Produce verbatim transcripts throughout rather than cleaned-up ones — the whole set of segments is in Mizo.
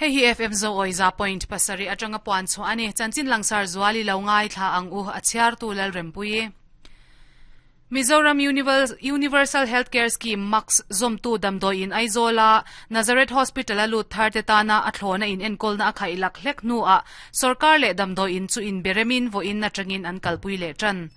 Hei hi F M zo oi za point pasari atanga puan chu ani chanchin langsar zuali lo ngai thla ang u a chhiar tu lal rempui. Mizoram Universal Healthcare Scheme Max Zomtu Damdoi in Aizola Nazareth Hospital alu tharte tana a thlona in enkol na khai lak hlek nu a sarkar le damdoi in chu in beremin vo in na tangin an kalpui le tran.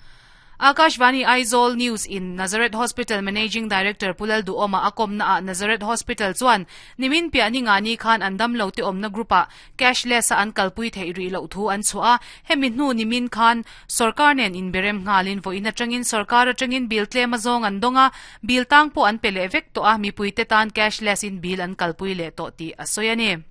Akashvani Aizawl News in Nazareth Hospital Managing Director Pulal Duoma akom na Nazareth Hospital chuan nimin piani ngani khan andam lo te omna groupa cashless an kalpui thei ri lo thu an chua hemi hnu nimin khan sarkar nen in berem ngalin vo in atangin sarkar atangin bill tlema zong an donga bill tang po an pele vek to a mi puite tan cashless in bill an kalpui le to ti asoyani.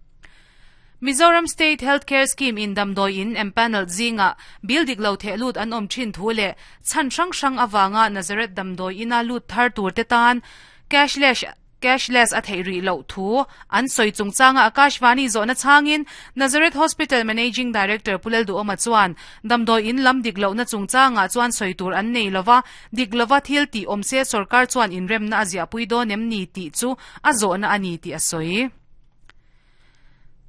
Mizoram State Healthcare Scheme in Damdoi in empanel zinga building lo the lut an om thin thule chan sang sang awanga Nazareth Damdoi ina lut thar tur te tan cashless cashless a thei ri lo thu an soi chungchanga Akashvani zona changin Nazareth Hospital Managing Director Pulal Duoma chuan Damdoi in lam dik lo na chungchanga chuan soi tur an nei lova dik lova thil ti omse sarkar chuan in rem na azia pui do nem ni ti chu a zona ani ti asoi.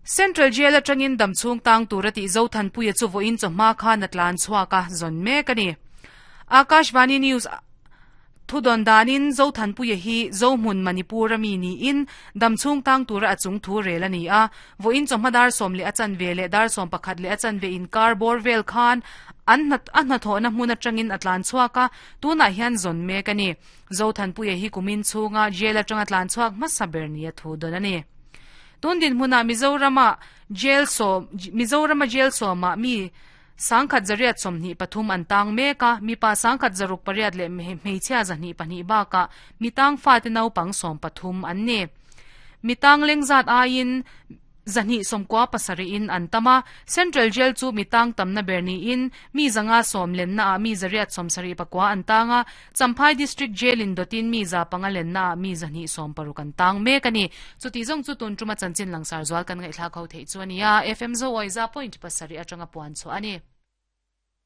Central Jail atangin damchung tang turati zothan puya chu voin choma kha natlan chuaka zon me kani. Akashvani News thudon danin zothan puya hi zohmun Manipur mi ni in damchung tang tura achung thu relani a voin choma dar som le achan ve le dar som pakhat le achan ve in kar bor vel khan an nat an na thona hmun atangin atlan chuaka tuna hian zon me kani. Zothan puya hi kumin chunga jail atanga atlan chuak ma sabernia thudon ani. Tundin hmuna Mizorama jail so Mizorama jail so ma mi sangkhat zariat somni pathum antang meka mi pa sangkhat zaruk pariat le meichia zani pani ba ka mitang fa te nau pang som pathum an ne mitang lengzat ain zani somkwa pasari in antama Central Jail chu mitang tamna berni in mi zanga som len na mi zariat som sari pakwa antanga Champhai District Jail in dotin mi za pangalen na mi zani som parukan tang me kani chu ti jong chu tun tuma chanchin langsar zwal kan ngai thla khau thei chu ania F M zo oi za point pasari atanga puan chu ani.